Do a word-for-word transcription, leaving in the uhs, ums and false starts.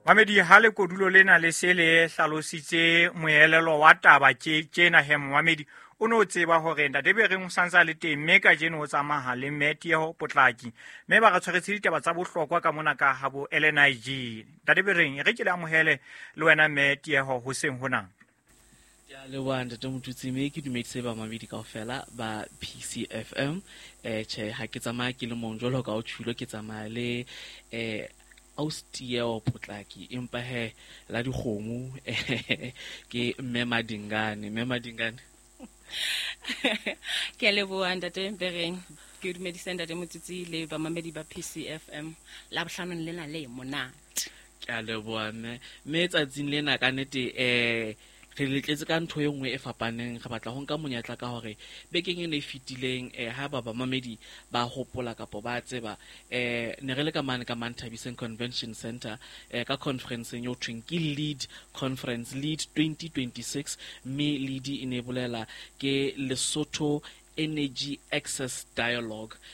Mamedi, ha lekodulo lena le se le hlalositse moelelo wa taba tjena he, momamedi o no tseba hore ntate Bereng o santse a le teng, mme kajeno o tsamaya le mme Tieho Potlaki, mme ba re tshwaretse ditaba tsa bohlokwa ka mona ka habo L N I G. Ntate Bereng, e re ke le amohele le wena mme Tieho hoseng hona. Ke a leboha, ntate Motutsi, mme ke dumedise bamamedi kaofela ba P C F M. eh Tjhe, ha ke tsamaya ke le mong jwalo ka o tjhulo, ke tsamaya le eh Austieo Potlaki, empa he la dikgomo ke mme Madingane. Mme Madingane. Ke a leboha, ntate Bereng. Ke dumedise ntate Motsitsi le bamamedi ba P C F M Labohlanong lena le monate. Ke a leboha, mme. Mme tsatsing lena ka nnete eh re letletse ka ntho e nngwe e fapaneng. Re batla ho nka monyetla ka hore bekeng ena e fetileng, eh ha ba bamamedi ba hopola kapa ba tseba, eh ne re le ka mane ka Manthabiseng Convention Center, eh ka conferenceng eo thweng ke LEAD Conference, LEAD twenty twenty-six, mme LEAD e ne e bolela ke Lesotho Energy Access Dialogue.